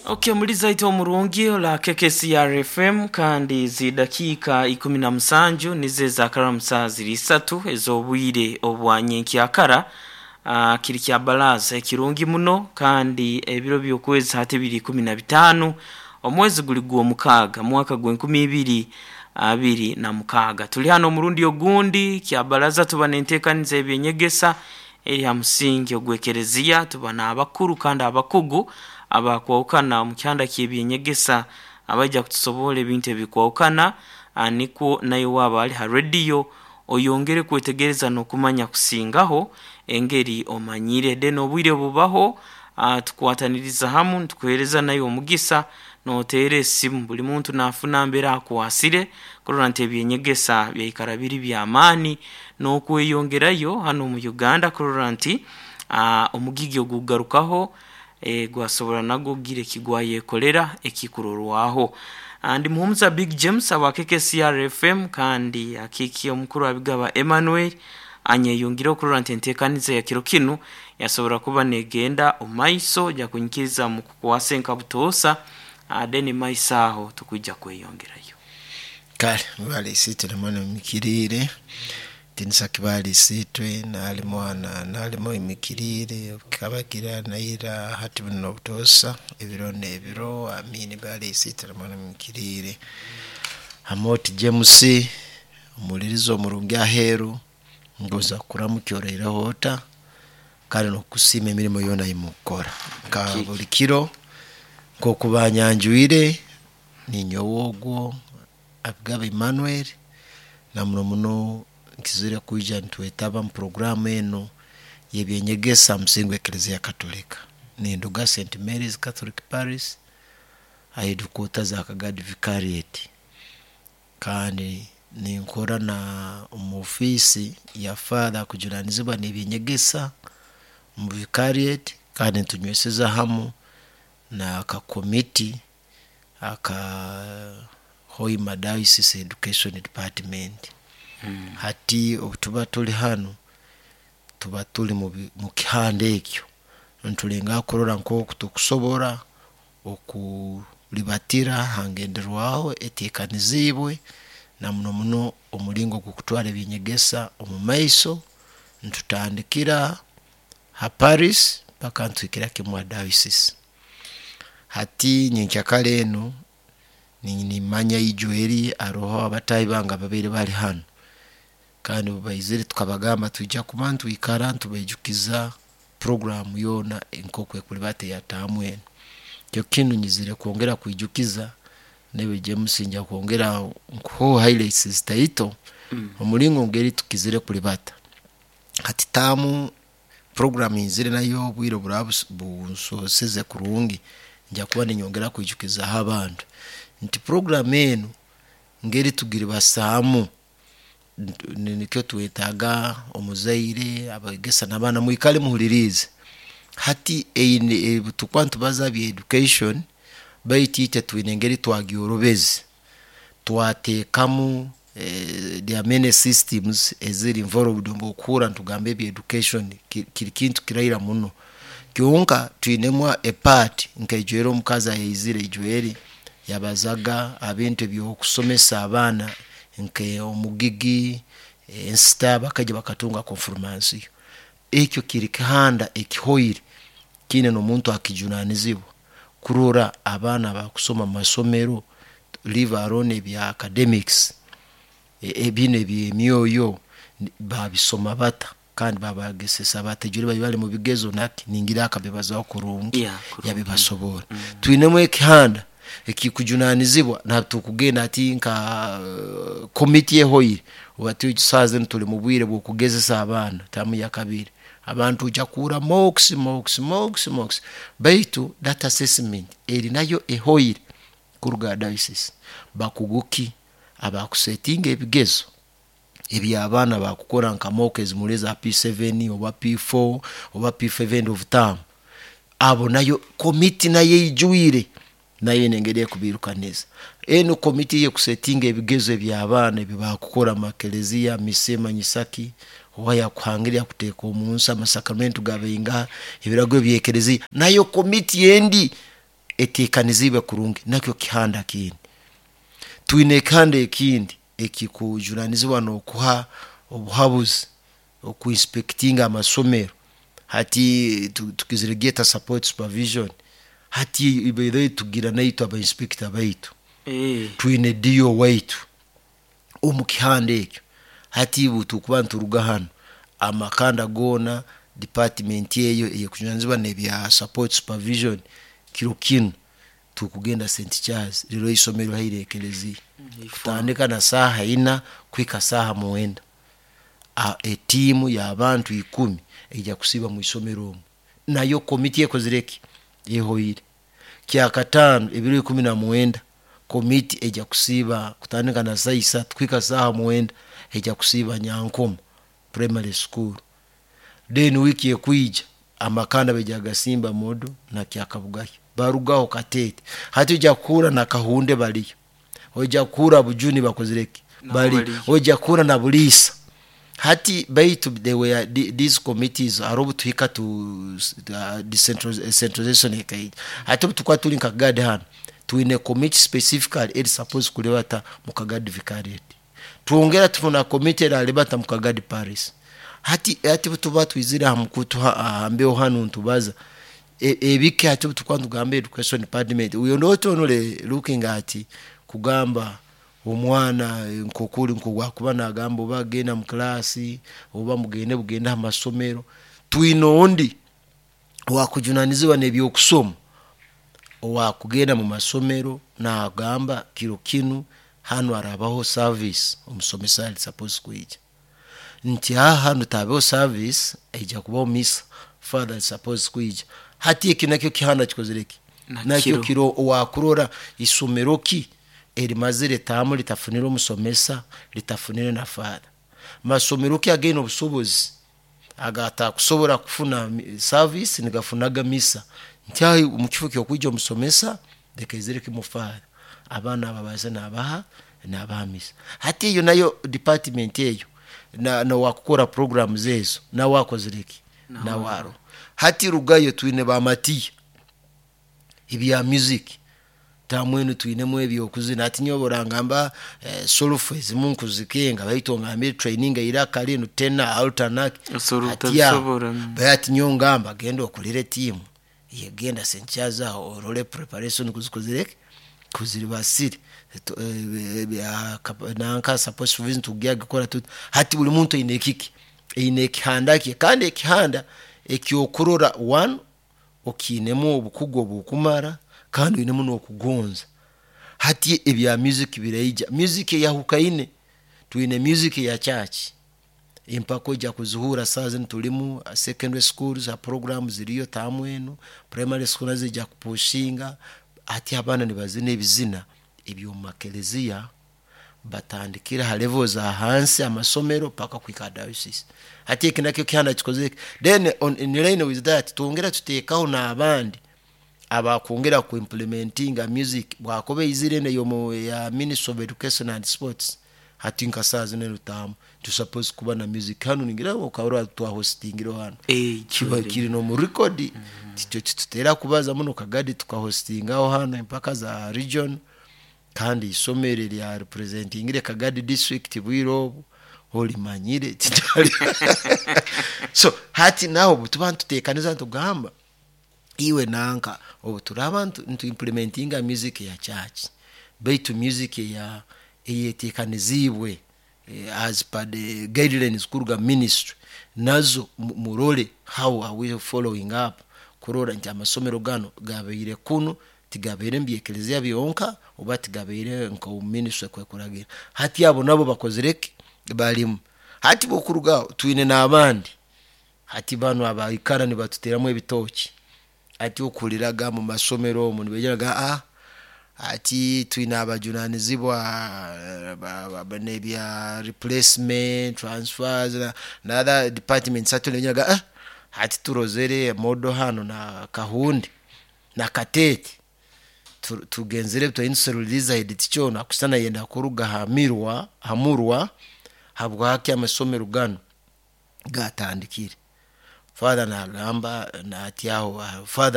Okay, muliza ite omurungi ola KKCR FM, kandi zidakiika 17 nizo ezakaramusa ziri isatu ez'obwire obwa nyenkyakara. Kiri kya baraza ekirungi muno, kandi ebiro by'okwezi hati biri 15, omwezi guli gw'omukaaga, mwaka gw'e 2026. Tuli hano omurundi ogundi kya baraza, tuba n'enteekaniza ebyenyegesa eri ha musingi ogw'ekereziya. Tuba n'abakuru kandi abakugu abakwahukana omu kihanda ky'ebyenyegesa abaija kutusoborra ebintu ebikwahukana, nikwo nawe waaba ali ha rediyo oyongere kwetegereza n'okumanya kusingaho engeri omanyire. Then obwire bubaho, tukwataniriza hamu nitukuheereza nawe omugisa nooteera esimu, buli muntu naafuna mbere akwasire kurora nti ebyenyegesa byaikara biri by'amaani n'okweyongerayo hanu omu Uganda, kurora nti omugigi ogukugarukaho gwasobora nagwo kugira eki gwayekolera ekikurorwaho. Ndi Muhumuza Big James aba KKCR FM, kandi akiikiye omukuru Abigaba Emmanuel anyeyungireho kurora nti enteekaniza ya kiro kinu yasobora kuba negenda omu maiso. Ojja kunyikiriza mukukwasa enka butoosa, then maiso aho tukwija kweyongerayo. Kale mwebale isiitwe namwe mumikiriire, tinisa kibaali isiitwe nali mwana nalimu imikiriire kikaba naira hati buno obutoosa ebiro n'ebiro, amiini. Baali isiitwe namwe mumikiriire. Amooti James omuwuliriza omurungi aheeru, ngonza kukuramukya oraireho ota kandi n'okukusiima emirimo yoona eyimukukora nka buli kiro. Nk'oku banyanjwire, ninyowe ogwo Abigaba Emmanuel, na muno muno nkizire kwija nitwetaba mu puroguramu enu y'ebyenyegesa ha musingi gw'ekereziya Katolika. Ninduga St Mary's Catholic Parish ha headquarters za Kagadi Vicariate, kandi ninkora na omu ofiisi ya Father akujunanizibwa n'ebyenyegesa omu Vicariate, kandi nitunyweseza hamu n'akakomiti aka Hoima Diocese Education Department. Hati obu tuba tuli hanu, tuba tuli mu kihanda ekyo nitulengaho kurora nk'oku tukusobora okulibatira ha ngenderwaho eteekaniziibwe, na muno muno omulingo gw'okutwara ebyenyegesa omu maiso, nitutandikira ha parish paka nituhikira kimu ha diocese. Hati nyenkyakara enu nimanya ijo eri haroho abataahi bange ababaire bali hanu, kandi obu baizire tukabagamba twija kuba nitwikara nitubaijukiza puroguramu yoona nk'oku ekulibata eya taamu enu. Kiro kinu nyizire kwongera kwijukiza naiwe James, nja kwongera nkuheho highlights zitaito omulingo ngeri tukizire kulibata. Hati taamu puroguramu nyizire nayo, obwire oburaba bunsooseze kurungi, nja kuba ninyongera kwijukizaho abantu nti puroguramu enu ngeri tugiribasaamu, nikyo twetaaga omuzaire, abegesa n'abaana mwikale muhuliriize. Hati eine obu tukuba nitubaza bya education, baitu itwe twine engeri twagyorobeze, twateekamu there are many systems eziri involved. Obu okuhurra nitugamba ebya education kiri kintu kiraira muno, kyonka twinemu a part nka ijweri omukazi ayaizire ijweri yabazaga ha bintu eby'okusomesa abaana nke omugigi, ensita, bakaija bakatunga konfirmansiyo. Ekyo kiri kihanda ekihoire kiine n'omuntu akijunanizibwa kurora abaana abakusoma mu masomero, leave alone ebya academics, binu eby'emyoyo babisoma bata kandi babagesesa bata? Ijweri bali bali mu bigezo naki ningira akabibazaho kurungi, yabibasoborra. Twinemu ekihanda ekikujunanizibwa natukugenda hati nka komiti ehoire, obu hati saaha zinu tuli mu bwire bw'okugezesa abaana taamu yakabiri, abantu ojya kuhurra mocks, mocks, mocks, mocks, baitu that assessment eri nayo ehoire kuruga ha diocese. Bakugu ki abakusetinga ebigezo eby'abaana bakukora nka mock ezimuri eza P7 oba P4 oba P5 end of term? Abo nayo komiti nayo eijwire, nayo ine engeri ekubiirukaniza. Enu komiti eyekusetinga ebigezo eby'abaana ebi bakukora mu makereziya, misa emanyisa ki, oba yakuhangire yakuteeka omu nsi, amasakramento gabaingaha, ebiragiro by'ekereziya, nayo komiti endi. Eteekaniziibwe kurungi, nakyo kihanda kindi. Twine ekihanda ekindi ekikujunanizibwa n'okuha obuhabuzi, okuinspectinga amasomero. Hati tukizire gyeta support supervision. Hati by the way tugira naitwe aba inspector baitu. Twine DO waitu omu kihanda ekyo. Hati obu tukuba nituruga hanu, amakanda goona, department eyo eyekujunanizibwa n'ebya support supervision, kiro kinu tukugenda St Charles liro isomero haire ekereziya, kutandika na saaha 4 kuhika saaha 9. Etiimu y'abantu 10 eija kusiiba mu isomero omu, nayo komiti ekozire ki? Ehoire. Kyakataano ebiro 19, komiti eija kusiiba kutandika na saaha 3 kuhika saaha 9, eija kusiiba Nyankoma Primary School. Then wiiki ekwija amakanda baija kugasimba Modo na Kyakabugaya, barugaho Kateete. Hati oija kuhurra na Kahunde baliyo, oija kuhurra Bujuni bakozire ki? Nabo Bali, baliyo. oija kuhurra na Buliisa. Hati baitu they were these committees haro obu tuhika tu decentralization ekaija. Hati obu tukuba turi nka Kagadi hanu, twine committee specifically eri supposed kulibata mu Kagadi Vicariate. Twongera tufuna committee eralibata mu Kagadi Parish. Hati obu tuba twizire aha mukutu aha mbeho hanu nitubaza ebike. Hati obu tukuba nitugamba education department, we are not only looking at kugamba omwana nkokuri nkogwakuba nagamba oba agenda mu class oba mugende bugende aha masomero. Twine ondi owakujunanizibwa n'ebyokusoma, owakugenda mu masomero nagamba kiro kinu hanu harabaho service, omusomesa ali supposed kwija, nti aha hanu tabeho service, eija kubaho misa, father ali supposed kwija. Hati eki nakyo kihanda kikozire ki? Nakiro. Nakyo kiro owakurora isomero ki erimazire taamu litafunire omusomesa, litafunire na father. Masomero ki againe obusobozi agatakusobora kufuna service nigafunaga misa, nti aho omu kifo ky'okwija omusomesa leka aizire kimu father, abaana ababaze nabaha misa. Hati eyo nayo department eyo nowakukora programs ezo nawe akozire ki? Nawe aroho. Hati rugayo twine bamatiya ebya music, tamwenu twinemu ebyokuzina. Hati nyowe orangamba solufu ezimu nkuzikenga, baitu ongambire training eiraka linu tena altanak. Osobola Hati aho, otabisobora. Hati nyowe ngamba genda okulire tiimu yegenda St Charles aho orole preparation kuzikozire ki, kuziribasire. Nanka support supervision tugikora tuti. Hati buli muntu aine ekiki, aine ekihanda kye, kandi ekihanda ekyokurora one okiinemu obukugu obukumara kandi oinemu n'okugonza. Hati ebya music biraija, music eyahukaine, twine music eya church, empaka oija kuzihuura saaha zinu tulimu secondary schools ha program ziriyo taamu enu, primary school nazo zija kupushinga. Hati abaana nibazina ebizina eby'omu makereziya, batandikire ha level za hansi amasomero paka kuhika ha diocese. Hati eki nakyo kihanda kikozire ki? Then in line with that twongera tuteekaho n'abandi abakwongera kuimplementinga music bwakuba eizire enu eyomu ya Ministry of Education and Sports. Hati nka saaha zinu enu taamu tu suppose kuba na music hanu, ningira okahurra twahostingire hanu, kiba kiri n'omu record. Titutera kubaza muno Kagadi, tukahostingaho hanu empaka za region, kandi isomero erya representingire Kagadi district bwire obu olimanyire titali. So hati naho obu tuba nituteekaniza nitugamba iwe nanka obu turaba nituimplementinga music ya church, baitu music eya eyeteekaniziibwe as per the guidelines kuruga ministry, nazo murole how are we following up kurora nti amasomero ganu gabaire kunu tigabaire mu byekereziya byonka oba tigabaire nka ministry kwekuragira. Hati abo nabo bakozire ki? Balimu. Hati bokurugaho twine n'abandi, hati banu abaikara nibatuteramu ebitooki. Hati okuhuriraga mu masomero omu nibagira ati twine abajunanizibwa n'ebya replacement transfers na other departments. Hati nibagira hati turozere Modo hanu na Kahundi na Kateete, tugenzere twine head teacher onu akusana yenda kuruga ha hamurwa, habwaki amasomero ganu gatandikire. Father nagamba nati aho father.